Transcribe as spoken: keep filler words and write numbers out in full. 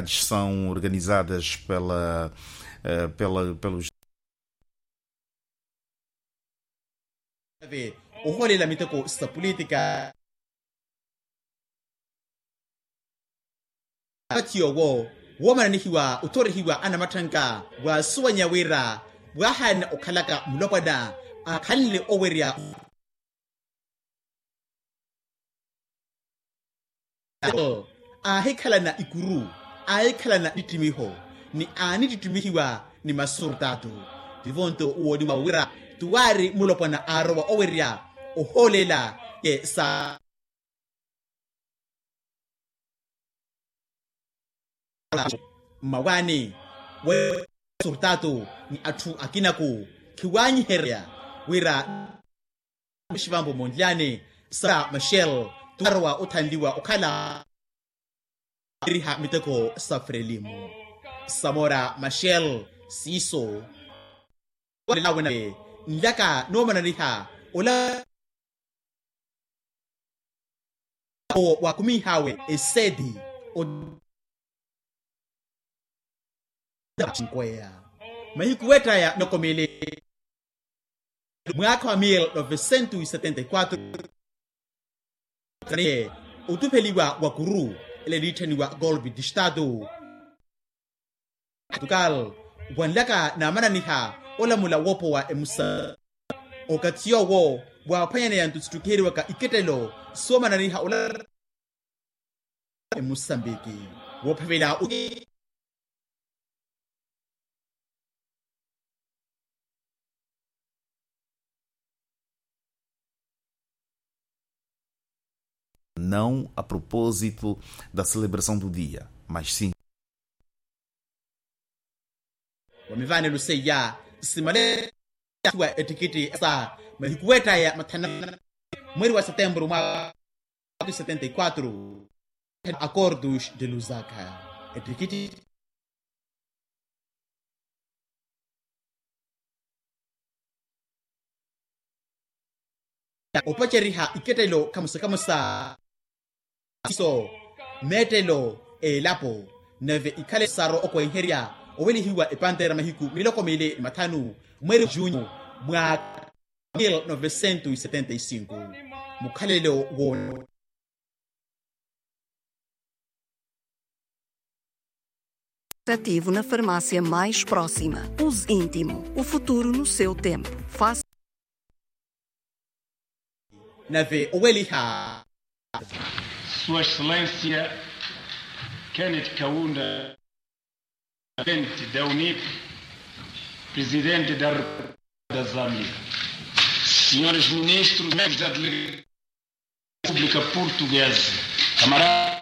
São organizadas pela, eh, pela, pelos. Ohoolela miteko sa pulitika. Apathi owo woomananihiwa othorihiwa anamatthanka waasuwanya wira waahaana okhalaka mulopwana akhanle owerya. Aahikhalana ikuru, aahikhalana ittittimiho ni aanittittimihiwa ni masurtaatu. Tivo nto wooniwa wira tuwaari mulopwana aarowa owerya ohoolela ye sa mmawaani wa surtaatu ni atthu akinaku khiwaanyiherya wira mixivampo monlyani sa mashel tuwarowa othanliwa okhala eriha miteko sa frelimu samora mashel siiso nlaka noomananiha ola owo waakumiih'awe eseeti o nkweya mahiku weett'aya nokomele mwaakha wa mil novecentos e setenta e quatro otupheliwa wa kuru ele eliitthaniwa golpe de estado portugal wanlaka naamananiha olamula woopowa emusa okathi yoowo waaphwanyaneya nto sittukiheriwaka ikettelo soomananiha ola emusambiki woophavela não a propósito da celebração do dia mas sim wa mivaanelo seiya simale athuwa ettikitti sa mahiku weett'aya mathana mweri wa setembro mwa setenta e quatro acordos de lusaka ettikitti opaceriha ikettelo kamusa kamusa siiso meettelo eelapo nave ikhale saro okwenherya owelihiwa epantera mahiku miloko mili ni mathanu mweri junyu mwa mil novecentos e setenta e cinco mukhalelo wo ativo na farmácia mais próxima. Uso íntimo, o futuro no seu tempo. Faça nave oweliha sua excelência kenneth kaunda presidente da unip presidente da república da zâmbia senhores ministros membros da delegação da república portuguesa camarada